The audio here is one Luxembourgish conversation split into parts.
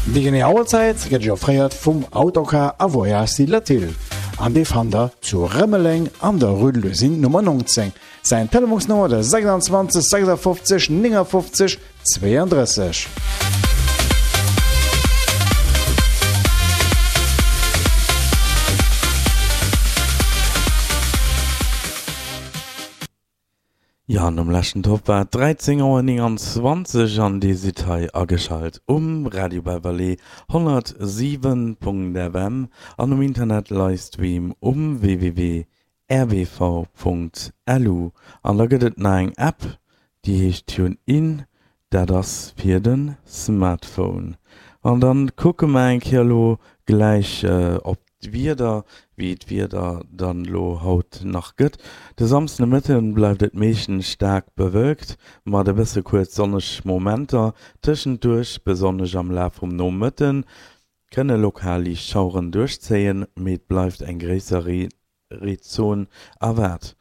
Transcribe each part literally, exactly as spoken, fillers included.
Déi genee Auerzäit gëtt Iech offréiert vum Autocar a Voyages Latil an dee fannt der zu Rëmeleng an der Rue de l'Usine Nummer neunzéng. Säin Telefonsnummer de sechsundzwanzeg sechsundfünfzig neunundfünfzig zweiunddrësseg. Jo, an nom leschten Topp war et dräizéng Auer neunundzwanzeg an Dir sidd hei ageschalt um Radio Beverley honnertsiwen Punkt F M an um Internet Livestream um w w w r b v Punkt l u. An da gëtt et nach eng App, déi heescht TuneIn, dat ass fir de Smartphone. An dann kucke mer eng Kéier elo gläich op d'Wieder, wéi d'Wieder dann elo haut nach gëtt. De Samsdenomëtten bleift et meeschtens staark bewölkt, mat e bësse kuerz sonneg Momenter tëschenduerch. Besonnesch am Laf vum Nomëtten kënne lokal liicht Schaueren duerchzéien, mee et bleift eng gréisser Reezon erwaart.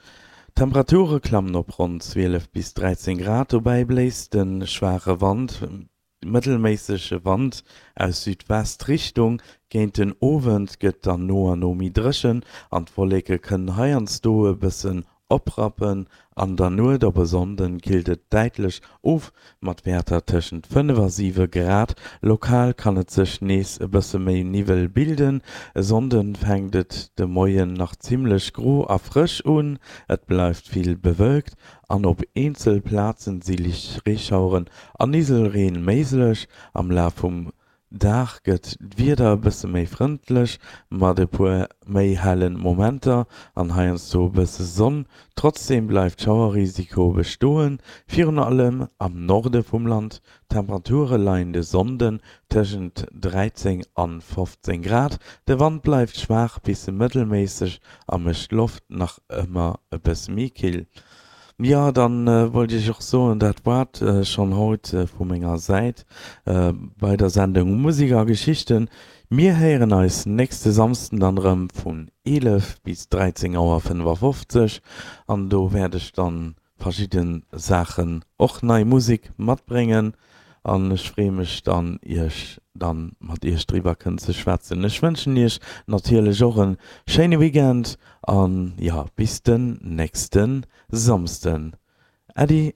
D'Temperature klammen op ronn zwielef bis dräizéng Grad, dobäi bléist e schwaache Wand mëttelméissege Wand aus Südwest-Richtung. Géint den Owend gëtt dann no an no méi dréchen an d'Wolleke kënnen heiansdo e bëssen oprappen. An der Nuet op e Sonnden killt et däitlech of, mat Wäerter tëschent fënnef a siwe Grad. Lokal kann et sech nees e bësse méi Niwwel bilden. E Sonnde fänkt et de Moien nach zimmlech gro a frësch un, et bleift vill bewölkt an op eenzel Plazen si liicht Reeschaueren an Niwwelreen méiglech. Am Laf vum Dag gëtt d'Wieder e bësse méi frëndlech, mat e puer méi helle Momenter an heiansdo e bësse Sonn. Trotzdeem bleift Schauerrisiko bestoen, virun allem am Norde vum Land. D'Temperature leien de Sonnden tëschent dräizéng an fofzéng Grad. De Wand bleift schwaach bis mëttelméisseg a mécht d'Loft nach ëmmer e bësse méi kill. Jo, dann wollt ech och soen, dat war et schonn haut vu menger Säit bei der Sendung Musik a Geschichten. Mir héieren eis nächste Samsden dann erëm vun eelef bis dräizéng Auer fënnefafofzeg an do wäert ech dann verschidde Saachen, och nei Musik matbréngen an ech freeë mech dann iech dann mat iech driwwer kënnen ze schwätzen. Ech wënschen iech natierlech och en schéine Weekend an jo, bis den nächste Samsden. Äddi.